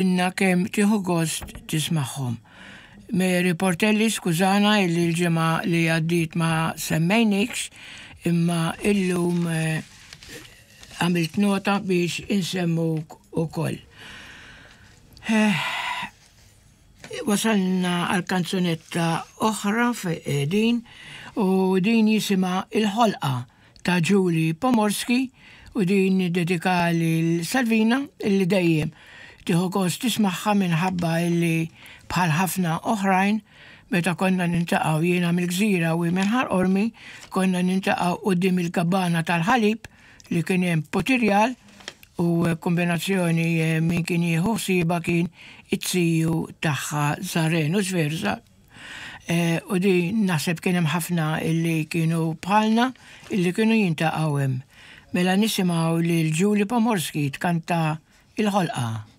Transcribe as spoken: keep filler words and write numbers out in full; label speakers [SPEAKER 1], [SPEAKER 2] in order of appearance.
[SPEAKER 1] Inna kemm tieħu gost tismagħhom. Mary Portelli, skużana illi l-ġimgħa li għaddiet ma semmejnikx, imma illum eh, għamilt nota biex insemmuk ukoll. Eh, wasalna għal kanzunetta oħra din u din jisimha Il-Ħolqa ta' Julie Pomorski u din dedika lil Salvina illi dejjem tieħu gost tismagħha minħabba illi bħal ħafna oħrajn meta konna niltaqgħu, jiena mill-Gżira u minn Ħal Qormi, konna niltaqgħu quddiem il-kabana tal-ħalib li kien hemm Putirjal u kombinazzjoni eh, min kien jieħu ħsiebha kien it-tiju tagħha Zaren u Zverza. Eh, u di naħseb kien hemm ħafna illi kienu bħalna illi kienu jiltaqgħu hemm. Mela nisimgħu lil Julie Pomorski tkanta Il-Ħolqa.